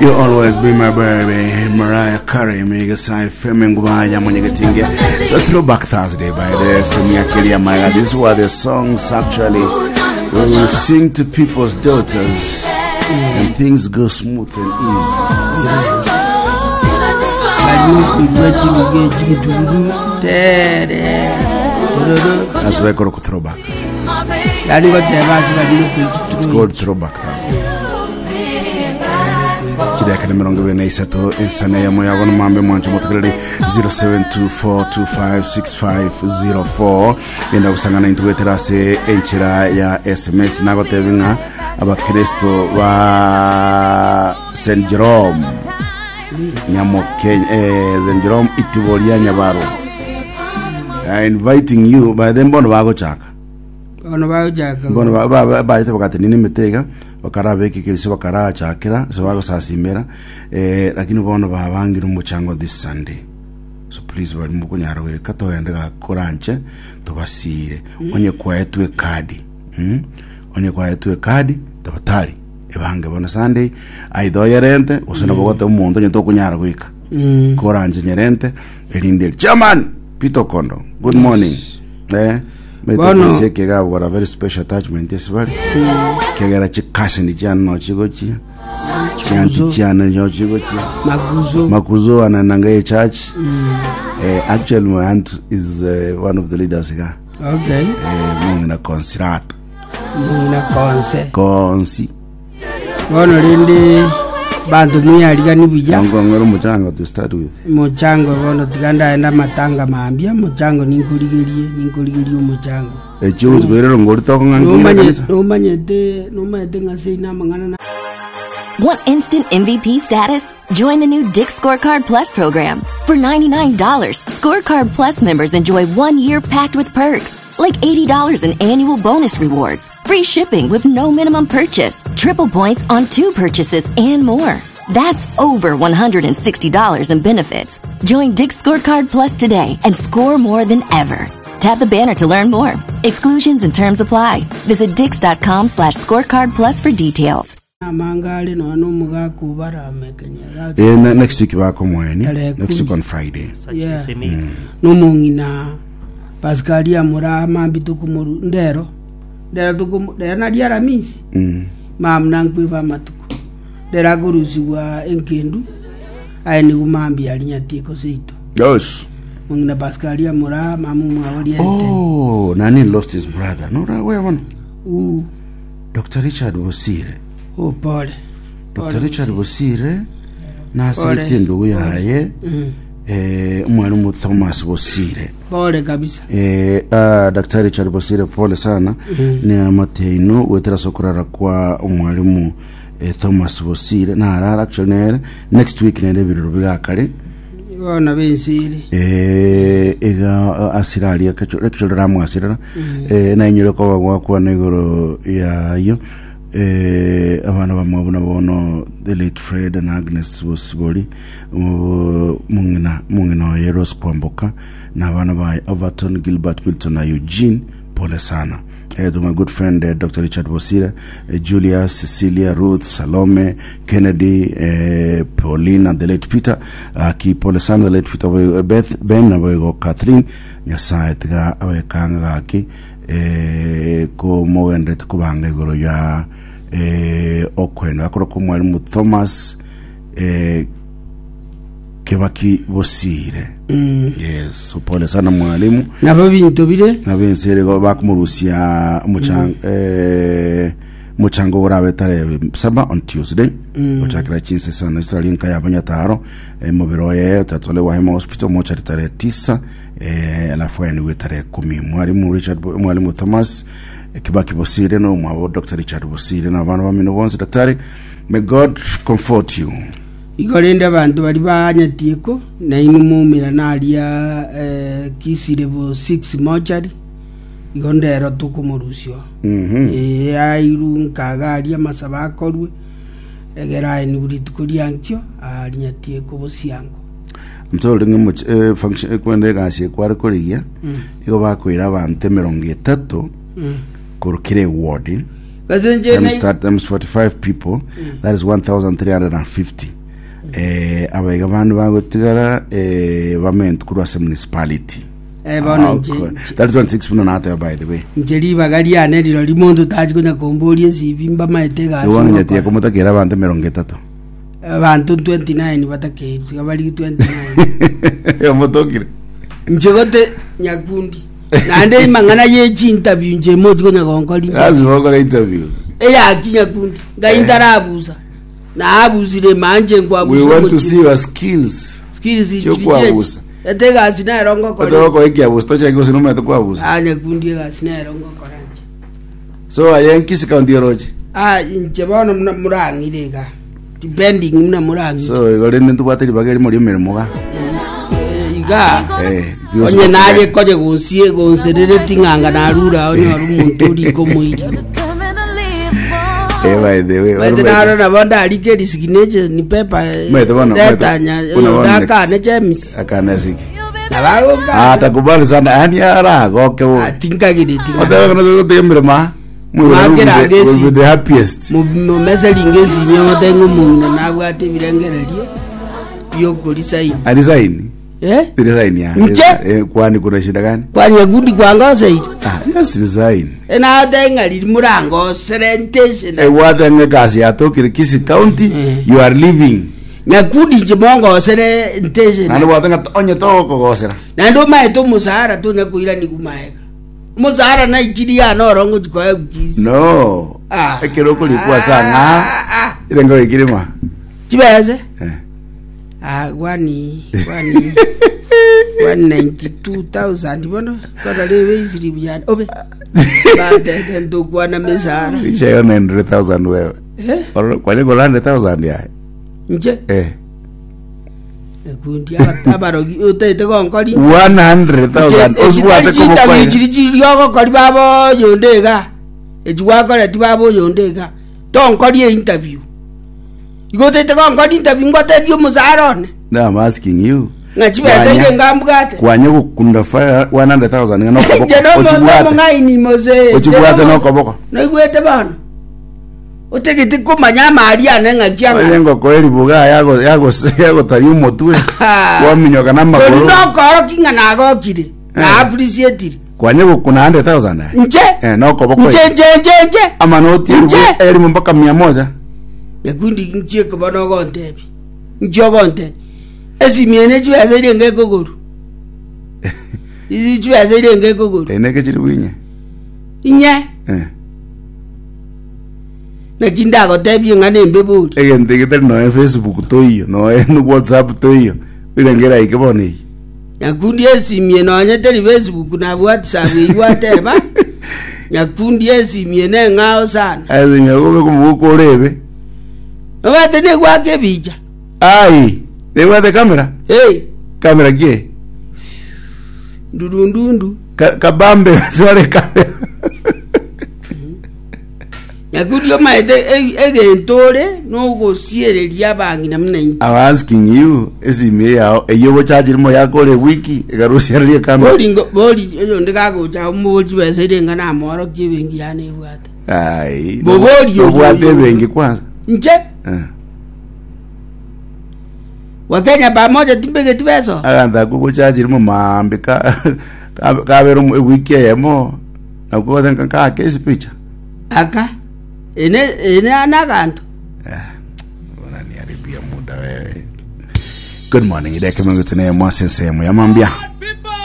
You always be my baby, Mariah Carey, Mega FM Ngubaya Munyegetinge. So throwback Thursday by the Semia Kelia Maya. These were the songs actually we will sing to people's daughters and things go smooth and easy. Barimo koigwa chibuga echinturu tere tororo That's why I call it throwback. yani goteba ase barimo It's koigwa called throwback Thursday. Chidakika 23 ensana yamo yabo nomambe mwancho motegereri 0724256504 genda gusangana intwetera ase enchera ya sms nagotebe ng'a abakristo ba st jerome nyamokenya eh, st jerome itibo ria nyabaro Uh, inviting you by then bono bagochaka bono bagochaka bono ba- ba- ba- baete bagatenena emete iga bakarabeka ekerisia bakarachakera ase bagosasimera eh, lakini bono babangire omochango this sunday so please bari mokonyara goika togende gakoranche tobasire onye kwaetwe ekadi mm? onye kwaetwe ekadi tafadhali ebange bono sunday aitha oyerente gose nabo ogoteba omonto onye tokonyara goika koranche nyerente erinde eri chairman peter okondo good morning eh Bono- Maite got a very special attachment ase bari kegera chikasini chiane no chigochia chianti chiane no chigochia maguzo makuzo anananga ye church eh, actually my aunt is uh, one of the leaders iga okay eh, mong'ina consilata muna konse konsi Bono rende banto mwiyarigani buya Nongong'ora omochango to start with. mochango bono tiga ndaenda amatanga mambia mochango ninkorigerie ninkorigerie omochango Echio gochi koirera ngori tokong'anki Nomanye- kanisa. nomanyete nomanyete ng'a seino amang'ana na Want instant MVP status? Join the new Dick Scorecard Plus program. For $99, Scorecard Plus members enjoy one year packed with perks, like $80 in annual bonus rewards, free shipping with no minimum purchase, triple points on two purchases, and more. That's over $160 in benefits. Join Dick Scorecard Plus today and score more than ever. Tap the banner to learn more. Exclusions and terms apply. Visit dix.com slash scorecard plus for details. amanga are nonya na omogaka obarame kenya Eh, ne- next week bakomoeni. Tarehe Next week kumi. on Friday. Yeah. nomong'ina pascalia mura mambi tokomoru ndero ndero tokomo ndero nari aramisi Mm. mam nankweba amatuko ndero akorusigwa enkendu aye nigo mambi ari nyatieko seito Yes. mong'ina pascalia mura mamu mwabo riente Oh, nani lost his brother. No, ra wewe bono. u Dr. Richard Bosire. o pole Dr. Richard Bosire nasirete Pole. endugu yaye eh, omwalimu Thomas Bosire. pole kabisa Eh, ah, Dr. Richard Bosire pole sana mm. ni amateino gwetera sokorara kwa omwalimu eh, Thomas Bosire narara actually nere next week nere ebiroro bigakare bono bensiri eh, iga asiraria ekechorera amwasirera eh, nainyore koba gwakwana igoro yayo eh, abana bamwe buna bono the late Fred and Agnes Bosibori mung'ina mung'ina oye Rose Kwamboka na abana ba Overton Gilbert Milton na Eugene pole sana eh, to my good friend eh, Dr. Richard Bosire eh, Julius Cecilia Ruth Salome Kennedy eh, Pauline and the late Peter aki pole sana the late Peter eh, Beth Ben na boigo Catherine Nyasaye tiga abekanga gaki eh, ko mogenderete kobanga igoro ya eh, okwenda akoro ko mwalimu Thomas eh, Kebaki Bosire yes so pole sana mwalimu nabo binto bire nabense rego bakomorusia omochang eh mochango orabe tarehe saba on Tuesday ochakira chinse sana isali nka ya banyataro eh, mobiro oye utatole Hema Hospital mochari tarehe tisa eh, alafu aeniwe tarehe kumi mwalimu Richard Bo- mwalimu Thomas eh, Kibaki Bosire no mwabo Dr. Richard Bosire na abana bamino bonse daktari may God comfort you Igo rende abanto baria banyatieko, nainwe moumerane aria eh, Kisii level 6 mortuary, igo ndero tokomorusia oo. Ee, airwe nkaga aria amasabo akorwe, egere aenigwe rituko ria nkio, aria nyatieko bosiango. Ntore ng'a moch- eh, function eh, kwenda egasi ekware korigia igo bakoira abanto emerongo etato korwa kera eward. Gose inche Times, times 45 people that is 1350. Abaiga bande bagotigara bament korwa ase municipality. Bono That is 16 buna nateba by the way. Inche ribaga riane rirori monto tachi konya komboria esibi mbamaete egasi Igo ngokora. nyatie komotakera abanto 30. Abanto 29 batakeirwe tiga barigi 29. Omotokire. Inche gote nyakundi naende amang'ana ye chinterview inche mochi konya gonkora interview. Lazima okore interview. Eyaki nyakundi ngai ntarabusa naabusire manche We nkwabusa want to omochie. see your skills. Skills chiri Chiokwabusa. chechi. Ete egasi nero ngokora. Otoka ekiabusa tochake gose nomanyete kwabusa. Ah, nyakundi egasi nero ngokora inche. So aye Kisii county oroche. Ah, inche bono muna murang'ire iga. Depending muna murang'ire. So igo rende ntobwate ribaga erimo ri'emeremo iga. Eh, iga. Eh, bionsi Onye naye bakogenda. konye gonsie gonserereti ng'anga narure ao nyore omonto orike omoiri. Eh, by the way, Maete oro naro nabo ndarike resignation paper Maete bono, maete- retanya bono bono next. ndakane chemis. Akana siki. Nabagoka. Ah, takubali sana. Yani aragoke bo. Tinkagireti. Oteba kana gote emeremo. Mwakera Will ngesi. be the happiest. Momeselinga esimi ogote ng'a omong'ina nabwate ebirengererio biokorisaini. Arisaini. Eh? Resign ya. Nche? Eh, kwani kuna shida gani? Kwani nyakundi kwangoseire? Ah, yes resign. Enate ng'a riri morangosere nteshe Eh, wathe ng'e kasi yatokire Kisii County, you are leaving. Nyakundi inche mongosere nteshe Naende bwate ng'a onye togokogosera. Naende omaete omosahara tonya koiraniwa maega. Omosahara naichiri yane oro ngochi koegwa Kisii. No. Ah. Ekero okorikwa ase ang'a, Ah, ah. erengo ikirima. Chibese? Eh. Ah, gwani gwani 192,000 bono kora rebe isiri buyane obe batete ntokwana mesara Ishayo 900,000 wewe. eh Oro- Kwanye kola 100,000 yaye. nche Eh. ekundi abarogi otete gonkori 100,000 osibwate chitabi koboko. chiri chiri ogokori baba oyonde iga echi gwakoreti baba oyonde iga tonkorie interview Igo otaete gonkora interview ngotebie omosara one. Now I'm asking you. Ng'a chibesa Kwanya- inde ngambwate. Kwanya gokunda fire 100,000 ng'a nokoboko. Inche nomonto Ochibwate. omong'aini mose. Ochibwate nokoboko. Noigwete bono. Otegete komanya amari ane ng'aki Oye ang'ana. ngoko eribuga yago yago yagotaria omotwe. Waminyoka Tori namagoro. nokoroki ng'a nagokire. Na appreciatire. Kwanya gokuna 100,000 aye. Nche. Eh nokoboko. Nche nche nche nche. Amanoti Nche. elimu mpaka 100. Nyakundi inki ekoba nogontebia? Inki ogontebia? Esimi eye ne chibesa eria enga ekogorwa. Isi chibesa eria enga ekogorwa. Ene kechiri bwinye. Inye, Eh. naki ndagotebie ng'a nembe bori. Egento egetari noe Facebook toiyo, noe WhatsApp toiyo. Irengera ike bono eyio. Nyakundi esimi eye nonye teri Facebook na WhatsApp eywo ateba, Nyakundi esimi eye neng'ao sana. Ase nyagobe komogoka orebe. Obwate negwaka ebicha. Ai, nebwate kamera? Hey, Kamera ki? ndurundundu. Ka- Kabambe tware kamera. Nyakundi omaete e- egento ore nogosiereria abang'ina buna intwe. I'm asking you, esimi yao eyo gochachiri mo yakore wiki ekarusiareria kamera. Bori ngo- bori oyonde kagocha omobori chibesa ere ng'a namworokia ebenki yane ebwate. Ai, Bobori oyo- obwate ebenki kwanza. Inche Eh. Wakenya pamoja timbegeti besa. Aganto akwo gochachiri mo maambi ka ka- kabera omo- ewiki eyemo nakwo gose nka nkake ase picha. Aka ene ene anaganto. Unaniharibia muda wewe. Good morning, idhaa ya Kimangu tunaye mwasi sehemu ya mambia.